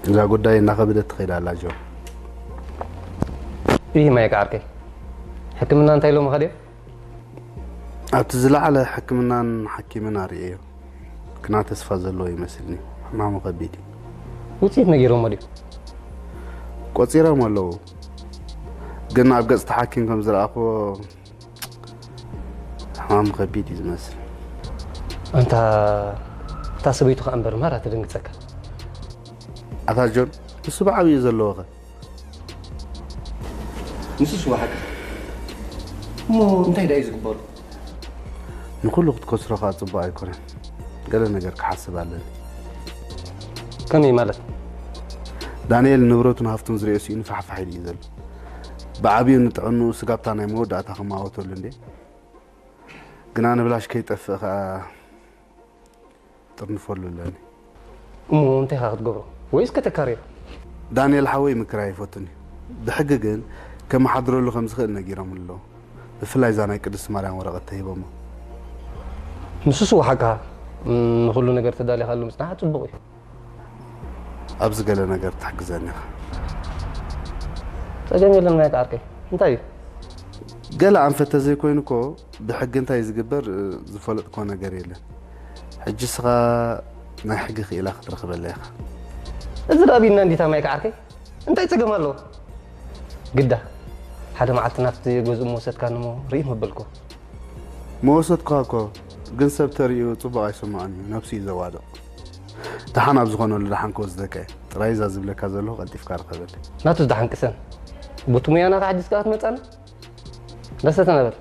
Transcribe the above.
እዛ ጉዳይ እናኸበደት ትኸይድ ኣላ ጆን። ይህ ማይክ ዓርከይ ሕክምና እንታይ ኢሎምኻ ድዮም? ኣብቲ ዝለዓለ ሕክምናን ሓኪምን ኣርእየዮ። ግና ተስፋ ዘለዎ ይመስልኒ። ሕማሙ ከቢድ እዩ። ውፅኢት ነጊሮሞ ድዩ? ቆፂሮም ኣለዉ። ግን ኣብ ገፅቲ ሓኪም ከም ዝረኣኽዎ ሕማሙ ከቢድ እዩ ዝመስል። ኣንታ እታ ሰበይቱ ከኣ እምበር ማራ ትድንግፀካ። ኣታ ጆን፣ ንሱ ብዓብዩ ዘለዎኸ? ንሱስ ወሓካ እሞ እንታይ ዳዩ ዝግበሩ? ንኩሉ ክትከስሮ ከዓ ፅቡቅ ኣይኮነን። ገለ ነገር ክሓስብ ኣለኒ። ከመይ ማለት? ዳንኤል ንብረቱን ሃፍቱን ዝሪኦ ስኢኑ ፋሕፋሕ ኢሉ እዩ ዘሎ። ብዓብዩ ንጥዕንኡ ስጋብታ ናይ መወዳእታ ክማወተሉ እንዴ። ግና ንብላሽ ከይጠፍእ ከዓ ጥርንፈሉ ኣለኒ። እሞ እንታይ ኢኻ ክትገብሮ? ወይስ ከተካርዮ? ዳንኤል ሓወይ ምክራይ ይፈቱኒ። ብሕጊ ግን ከመሓድረሉ ከም ዝኽእል ነጊሮም ኣለዉ። ብፍላይ እዛ ናይ ቅድስቲ ማርያም ወረቐት ተሂቦሞ። ንሱስ ወሓካ ንኹሉ ነገር ተዳሊኻሉ ምጽናሕ ጽቡቕ እዩ። ኣብዚ ገለ ነገር ትሕግዘኒ ኢኻ። ጸገም የለን ማይክ ዓርከይ። እንታይ እዩ? ገለ ኣንፈት ተዘይኮይኑ እኮ ብሕጊ እንታይ ዝግበር ዝፈለጥኮ ነገር የለን። ሕጂ ስኻ ናይ ሕጊ ክኢላ ክትረኽበላ ኢኻ። እዚ ዳቢና እንዲታ ማይክ ዓርከይ እንታይ ጸገም ኣለዎ? ግዳ ሓደ መዓልቲ ናብቲ ገዝኡ መወሰድካኒ እሞ ርኢ መበልኩ። መወሰድኳ እኮ ግን ሰብ ተሪኡ ጽቡቕ ኣይሰማዖን እዩ፣ ነብሱ እዩ ዘዋድቕ። ደሓን ኣብ ዝኾነሉ ደሓን ክወስደካ እየ። ጥራይ እዛ ዝብለካ ዘለኹ ቀልጢፍካ ርኸበለይ። ናቱስ ደሓን ቅሰን። ቡቲ ሙያና ከሕዲስ ከኣ ትመጻና? ደሰ ተነበል።